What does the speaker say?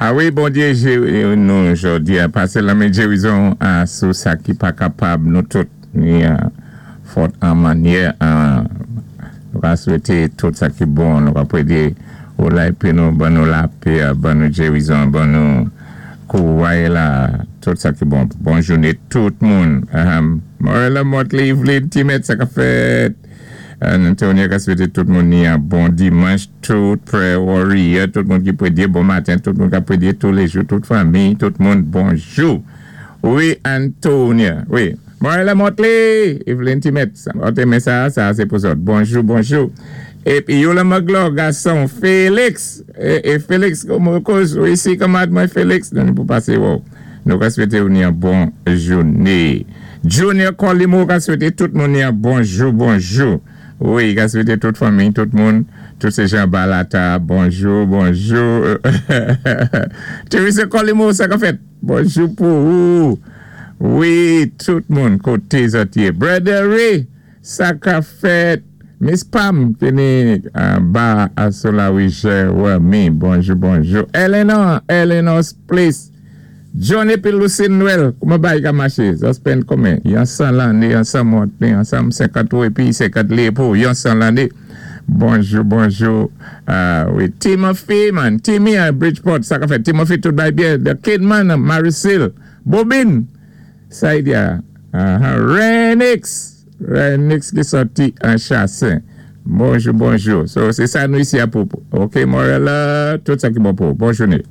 A wi, Bondyé jéri nou jòdi-a, pasé lanmen jérizon sou sa ki pa kapab. Nou tout ni fòt an mannyè nou ka swété tout sa ki bon. Nou ka prédé ou lay nou ban nou lapè, ban nou jérizon, ban nou kouway la, tout sa ki bon. Bon jouné tout moun. Morella Motley, Evelyn Timet, sa ka fèt? Antonio ka swété tout moun ni yon bon dimanch, tout prayer warrior, tout moun ki prédé, bon maten, tout moun ki prédé tous les jours, tout fanmi, tout moun, bonjou. Wi, Antonia, wi. Morella Motley, Evelyn Timet, ok, men sa, sé pou zòt. Bonjou, bonjou. Épi, Yola Maglo, gason, Félix, é Félix, kòman kòz, wi, si, kanmad mwen Félix, nou pou pasé, wow. Nou ka swété ou ni yon bon jouné. Junior Colimo ka swété tout moun ni yon bonjou, bonjou. Wi, ka swété tout fanmi, tout moun, tout sé jan Balata, bonjou, bonjou. Teresa Colimo, sa ka fèt? Bonjou pou ou. Wi, tout moun koté zòt yé. Brother Ray, sa ka fèt? Miss Pam, téni ba Asolawi Jeremy, bonjou, bonjou. Eleanor, Eleanor's Place. Johnny pi Lucine Noël, kouman bay ka maché? Sa spend konmen? Yon 100 lanné, yon 100 monté, yon 150 ou épi 50 li pou yon 100 lanné. Bonjou, bonjou. Wi, Timothy, man. Timmy à Bridgeport, sa ka fèt? Timothy, tout bay byen. The Kidman, Maricil. Bobine, sa y a. Renix. Renix ki sòti an Chassin. Bonjou, bonjou. So, sé sa nou isi a pou. Ok, Morella, tout sa ki bon pou. Bon jouné.